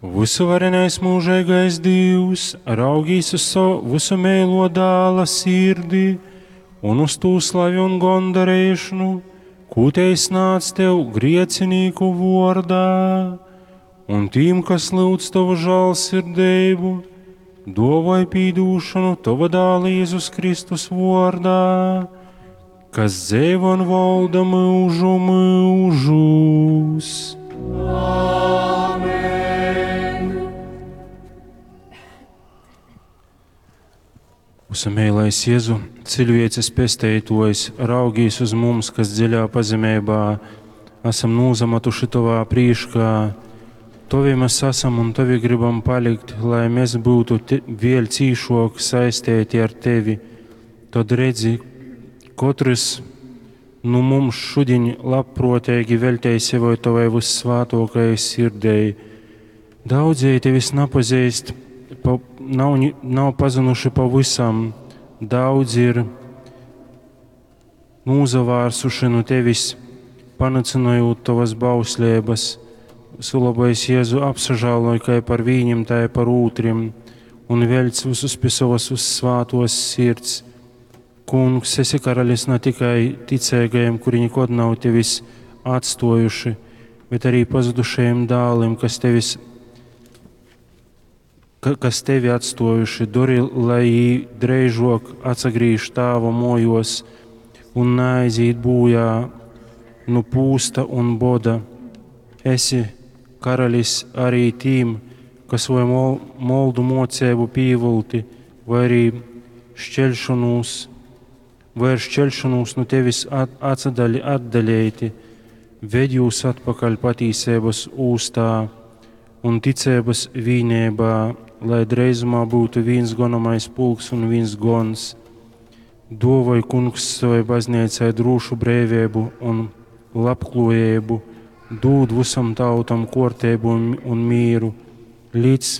Vysuvarenais mūžīgais Dievs, raugīs uz savu visumeilo dāla sirdi un uz tū slavi un gondarēšanu, ko te snāc tev griecinīku vārdā, un tīm, kas lūdz tavu žālsirdību, dovai pīdūšanu tava dāla Jēzus Kristus vārdā, kas dzēvo un valda mūžu mūžus. Usamēlais Jēzu, cilvēces pesteitojs, raugīs uz mums, kas dziļā pazemībā esam nūzamatuši tovā prīškā. Tovi mēs esam un tovi gribam palikt, lai mēs būtu te, vēl cīšok saistēti ar tevi. Tad redzi, katrs nu mums šodien labprātīgi veltēja sevi tavai vissvātākajai sirdei. Daudzēji tevis nepazīst, pa, nav, nav pazinuši pavisam. Daudzi ir nūzavārsuši no tevis, panacinojot tavas bauslības. Sulabais Jēzu apsažāloj kā par viņiem, tā i par ūtrim, un veļc visus pie savas uzsvātos sirds. Kungs, esi karalis ne tikai ticīgajiem, kuri nekad nav tevis atstojuši, bet arī pazudušajiem dālim, kas tevis kas tevi atstojuši, dori, lai jī dreižok atsagrīž tāva mojos un neaiziet bojā nu pūsta un boda. Esi karalis arī tīm, kas vai mol, moldu mocēbu pīvulti, vai arī šķelšanos, vai ar šķelšanos no tevis at, atsadali, atdaļēti, ved jūs atpakaļ patīsības ūstā un ticības vīnībā, lai dreizumā būtu viens gonamais pulks un viens gons. Dovoj kungs savai baznīcai drošu brīvību un labklājību, dod visam tautam kārtību un, un mīru, līdz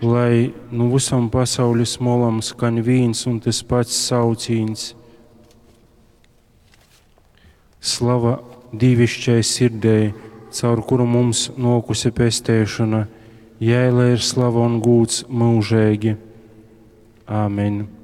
lai nu visam pasaules molam skan viens un tas pats saucīns. Slava dīvišķai sirdei, caur kuru mums nokusi pestēšana, jai lai ir slava un gūts mūžīgi. Āmen.